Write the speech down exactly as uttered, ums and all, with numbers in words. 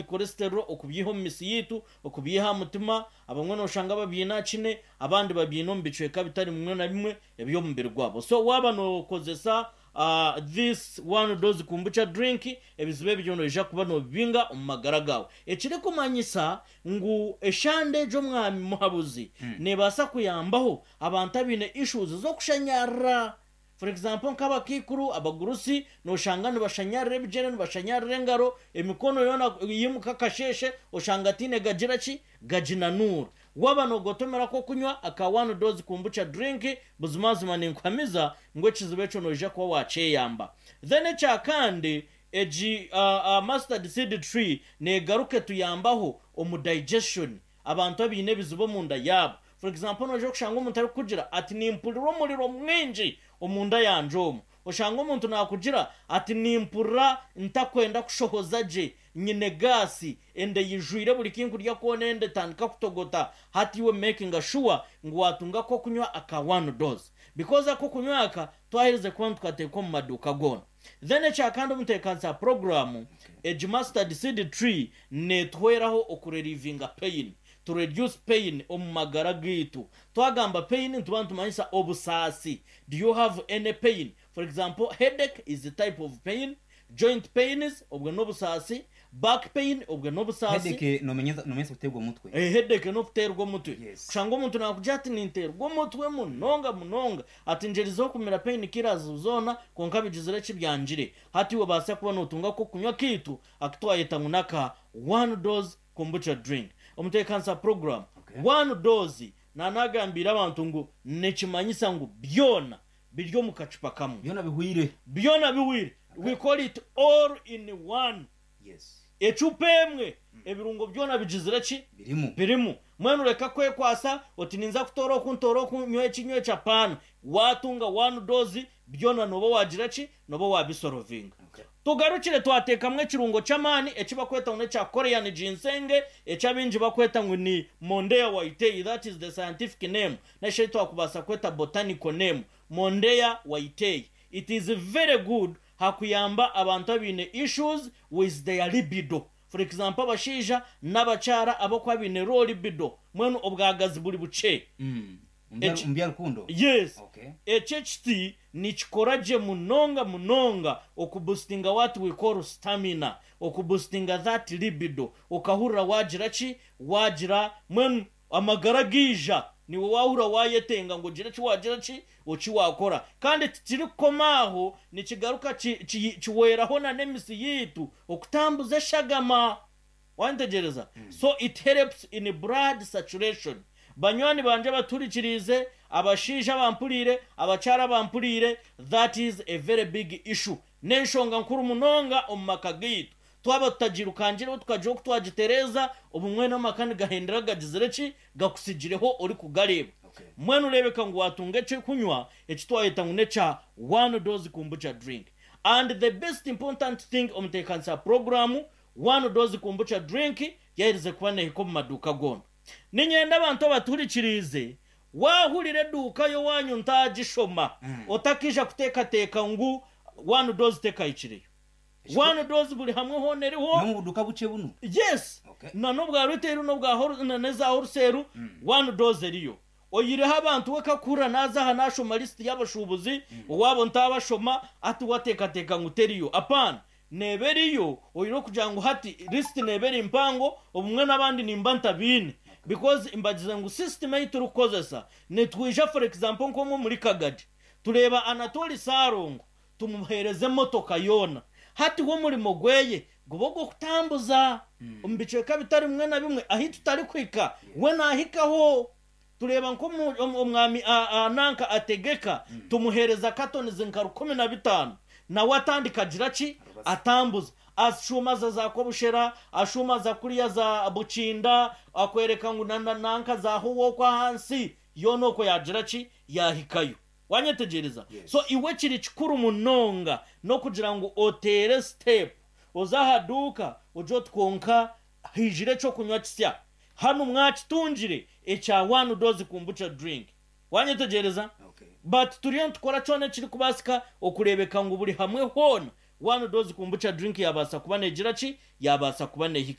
Cholesterol okubyiha omu misi yitu, okubyiha aha mutima. Abamwe noshanga babyine aha kine, abandi babyine omu bicweka bitari bimwe na bimwe eby'omubiri gwabo. So waaba nokozesa uh, this One Dose Kombucha drink, ebizibu ebyo noija kuba nobibinga omu magara gawe. Ekirikumanyisa ngu eshande egyo, omwami muhabuzi, mm. nebaasa kuyambaho abantu abaine issues z'okushanyarira. For example, nk'abakaikuru, abagurusi, noshanga nibashanyarira ebigyere, nibashanyarira engaro, emikono yoona. Yimuka akasheshe oshanga tiine gagira ki gaginanuura. Waba nogotomera ko kunywa aka One Dose Kombucha drink, buzimazima ninkuhamiza ngu ekizibu ekyo noija kuba wakyeyamba. Then ekyakandi, egi uh, uh, mustard seed tree negaruka tuyambaho omu digestion. Abantu abaine ebizibu omunda yaabo, for example, noija kushanga omuntu arikukugira ati, "Nimpurira omuriro mwingi omunda yanje omu." Oshanga omuntu nakugira ati, "Nimpurira ntakwenda kushohoza gye, nyine gaasi, ende yijwire, buri kinkurya kwona ende etandika kutogota." Hati iwe making sure ngu watunga ko kunywa aka One Dose, because ako kunywa aka twaherize kuba nitukateeka omu maduuka goona. Then ekyakandi, omuteekanisa program, egi mustard seed tree netuhweraho okurelievinga pain, to reduce pain omu magara gaitu. Twagamba pain, nituba nitumanyisa obusaasi. Do you have any pain? For example, headache is a type of pain, joint pains, obwo n'obusaasi, back pain, obwo n'obusaasi. Headache nomenyeza nomenyeza kuterwa omutwe. Eh, headache n'okuterwa omutwe. Yes. Kushanga omuntu nakugira ati, "Ninterwa omutwe munonga munonga," ati, "Njerizeho kumira pain killers zoona, konka bigizire kibyangire." Hati iwe baasa kuba notunga ko kunywa kiitu akitwayeta ngu naka One Dose Kombucha drink. Omuteekanisa program, Okay. One Dose nanagambira abantu ngu nikimanyisa ngu byona biri omu kacupa kamwe. Byona bihwire. Byona biwire. We call it all in one. Yes ecupa emwe, ebirungo byona bigizire ki? Birimu. Birimu. Mwenu reka kwekwasa oti, "Ninza kutora oku, ntora oku, nywa eki, nywa eki." Apaana, watunga One Dose, byona noba wagira ki? Noba wabisorovinga. Okay. Tugarukire, twateekamu ekirungo ky'amaani ekibakweta ngu nekya Korean ginseng, ekyabingi bakweta ngu ni Mondia whitei. That is the scientific name, neshe twakubaasa kweta botanical name, Mondia whitei. It is very good hakuyamba abantu abaine issues with their libido. For example, abashaija n'abakyara abakuba baine low libido, mwenu obwagazi buri bukye. Mm. Eki- Omu bya rukundo. Yes. Okay. Ekyo ekiti nikikora gye munonga munonga okuboostinga what we call stamina, okuboostinga that libido, okahurira wagira ki? Wagira mwenu amagara giija, niwe wahurira wayetenga ngu ogire ki? Wagira ki? Oki wakora. Kandi tikirikukoma aho, nikigaruka ki- ki- kiweraho na n'emisi yiitu okutambuza eshagama. Wantegereza? So it helps in blood saturation. Banywani banje baturikirize, abashaija bampuriire, abakyara bampuriire, that is a very big issue, n'enshonga nkuru munonga omu maka gaitu. Twaba tutagirukangireho, tukagira oku twagitereza, obumwe n'amaka nigahendera gagizire ki? Gakusigireho ori kugareeba. Okay. Mwenu urebeka ngu watunga ekyokunywa ekitwayeta ngu nekya One Dose Kombucha drink. And the best important thing, omuteekanisa program, One Dose Kombucha drink yaherize kuba nehika omu maduuka goona. Ninyenda abantu abaturikiriize, wahurira eduuka yo wanyu ntagishoma, Mm. otakija kuteekateeka ngu One Dose tekahikireyo. One Dose buri hamwe hoona eriho. No mu buduka buke buno. Yes. Okay. Na n'obwa retail, n'obwa whole- na n'eza wholesale, One Dose eriyo. Oyireho abantu we kakura naza aha nashoma lisiti y'abashubuzi owabo ntabashoma, ati wateekateeka ngu teriyo. Apana, neeba eriyo. Oyine kugira ngu hati lisiti neeba eri mpango, obumwe n'abandi nimba ntabiine, because mbagize ngu system ei turikukozesa, nitwija, for example, nk'omwe muri Kagadi, tureba Anatoli Sarongo, tumuhereze emotoka yoona. Hati wo omurimo gweye guba ogw'okutambuza omu bicweka bitari bimwe na bimwe ahi tutari kuhika, we nahikaho. Tureba nk'omwami nanka ategeka, tumuhereza katonizi nka rukumi na bitaano, nawe atandika agira ki? Atambuza, ashumaza za Kobushera, ashumaza kuriya za Bukinda, akwereka ngu na- na- nanka zaho wokwa ahansi yoona okwo yagira ki? Yahikayo. Wanyetegereza? Yes. So iwe kiri kikuru munonga n'okugira ngu otere step, oza aha duuka ugye oti, "Konka hijire ekyokunywa kisya hano, mwakitungire ekya One Dose Kombucha drink." Wanyetegereza? Okay. But turiyo nitukora kyona ekiri kubaasika okureebeka ngu buri hamwe hoona One Dose Kombucha drink yabaasa kuba negira ki? Yabaasa kuba nehikayo.